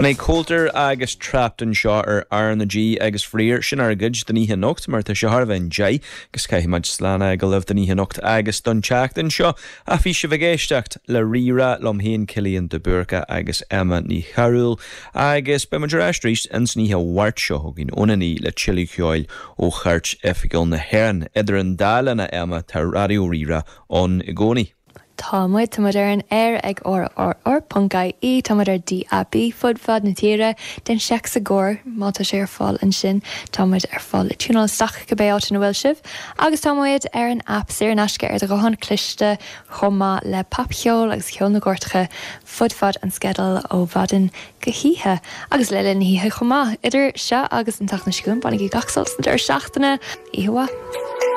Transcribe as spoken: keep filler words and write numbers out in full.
B'in é Coulter agus Trapped anseo ar R na G agus faraor sin ár gcuid don oíche anocht mar tá sé thar a bheith deich agus caithfimid slán a fhágáil libh don oíche anocht agus don tseachtain seo a bhí sibh ag éisteacht le Rí-Rá liom féin Cillian de Búrca agus Emma Ní Chearúil agus beimid ar ais arís an oíche Mháirt seo chugainn óna naoi le tuilleadh ceoil ó chairt oifigiúil na hÉireann. Idir an dá linn a Emma tá Raidió Rí-Rá ann i gcónaí. Tá muid tá muid ar an aer ag RRR.ie tá muid ar DAB fud fad na tíre den seic sa ggóir má tá sé ar fáil ansin tá muid ar fáil le tiúnáil isteach cibé áit ina bhfuil sibh agus tá muid ar an app saor in aisce ar do ghuthán cliste chomh maith le popcheol agus ceol na gcairteacha fud fad an sceideal ó mhaidin go hoíche agus le linn na hoíche chomh maith idir seo agus an tseachtain seo chugainn bainigí gach sult sa deireadh seachtaine oíche mhaith.